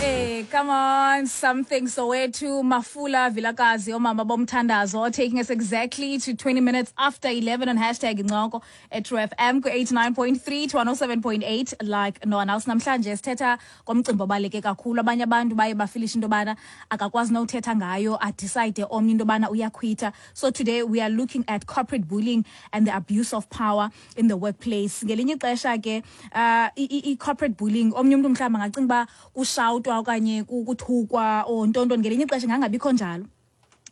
Hey, come on, something Soweto, Mafula, Vilakazi, Omama Bomthandazo, taking us exactly to 20 minutes after 11 on #Incoko at True FM ku 89.3 to 107.8 like no one else. Namhlanje sithetha ngomcimbi obaluleke kakhulu. Abanye abantu baye bafilisha into yobana akakwazi nowuthetha ngayo, adecide omnye into yobana uyakhwitha. So today we are looking at corporate bullying and the abuse of power in the workplace. Ngelinye ixesha ke i-corporate bullying, omnye umntu mhlawumbi angacinga uba kushawutwa okanye kuthukwa or ntontoni. Ngelinye ixesha ingangabikho njalo,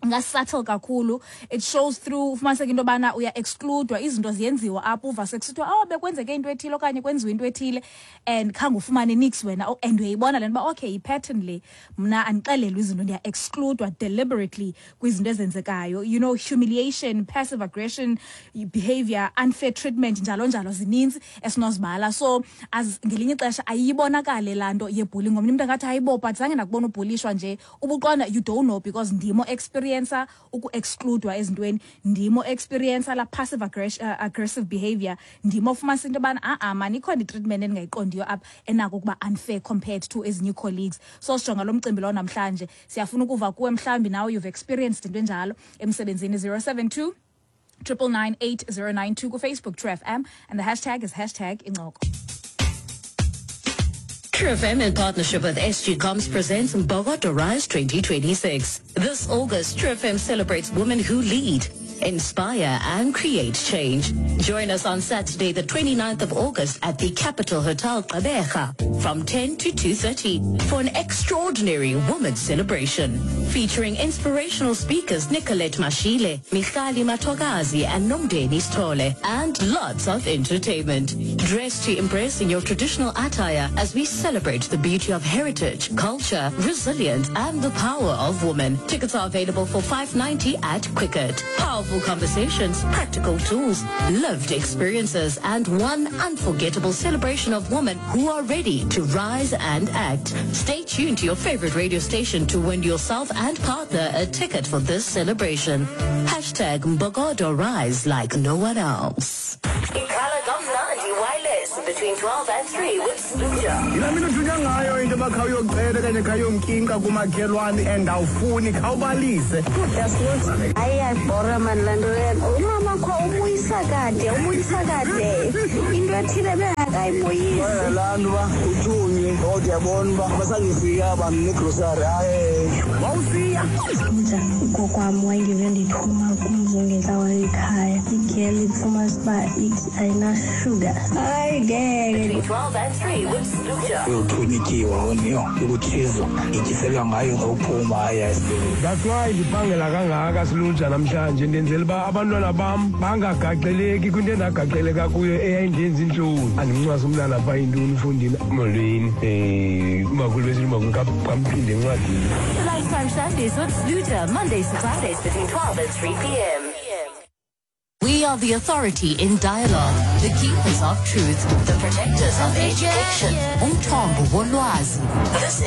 ingasubtle kakhulu. It shows through ufumaniseka into yobana uya-excludwa, izinto ziyenziwa apho, uva sekusithiwa, "Oh, bekwenzeke into ethile okanye kwenziwa into ethile," and khange ufumane nix wena. Oh, and uyayibona le nto uba okay, yi-pattern le, mna andixelelwa izinto, ndiya-excludwa deliberately kwizinto ezenzekayo. Humiliation, passive aggression behavior, unfair treatment, njalo njalo, zininzi esinozibala. So as ngelinye ixesha ayibonakale laa nto yebullying. Ngomnye umntu angathi, "Hayibo, but zange ndakubona ubhulishwa nje." Ubuqonda, you don't know, because ndimo experiencer uku-excludwa ezintweni, ndimo experiencer la passive aggressive behavior, ndimo ofumanisa into yobana a-a mani, ikhona itreatment endingayiqondiyo apha enako ukuba unfair compared to ezinye ii-colleagues. So sijonga lo mcimbi lowo namhlanje. Siyafuna ukuva kuwe, mhlawumbi nawe you've experienced into enjalo emsebenzini. 072 999 8092, kuFacebook True FM, and the hashtag is #Incoko. True FM in partnership with SG Comms presents Mbokodo Rise 2026. This August, True FM celebrates women who lead, inspire and create change. Join us on Saturday, the 29th of August at the Capital Hotel Gqeberha from 10 to 2:30 for an extraordinary women's celebration featuring inspirational speakers Nicolette Mashile, Michali Matogazi and Nomdeni Stole, and lots of entertainment. Dress to impress in your traditional attire as we celebrate the beauty of heritage, culture, resilience and the power of women. Tickets are available for 590 at Quicket. Powerful conversations, practical tools, lived experiences and one unforgettable celebration of women who are ready to rise and act. Stay tuned to your favorite radio station to win yourself and partner a ticket for this celebration. #MbokodoRise like no one else. Ikhala kamnandi wireless between 12 and 3 with Sluja. Yilaa mini uthunywa ngayo into yoba khawuyocela okanye khawuyomkinka kumakhelwane and awufuni, khawubalise. Hayi, iyabhora mani laa nto leyo. Umama kho ubuyisa kade, ubuyisa kade into ethile bengakayibuyisi. Laa nto uba uthunywe kodwa uyabona uba basangifika abantu negrosari, hayi. Wawusiya. Nja ugogo wayengeve ndithuma kumzi ongentlawula ekhaya, igeli ifumanisa uba ithi ayinashuga. Hayi ngeke. Between 12 and 3 with Sluja. Uyothunywa ityiwa oniyo ikutshizwa ityiselwa ngayo xa uphuma, hayi ayisibili. That's why ndiphangela kangaka siluja namhlanje, ndenzela uba abantwana bam bangagaxeleki kwinto endagaxeleka kuyo eyayindenza intloni. Andimncwasi umntana phaa yintoni ufundile, "Molweni, umakhulu," besithi umakhulu kamphinde encwadini. Lunchtime Shandies with Sluja, Mondays to Fridays between 12 and 3 p.m. We are the authority in dialogue, the keepers of truth, the protectors of education. Umthombo wolwazi. This is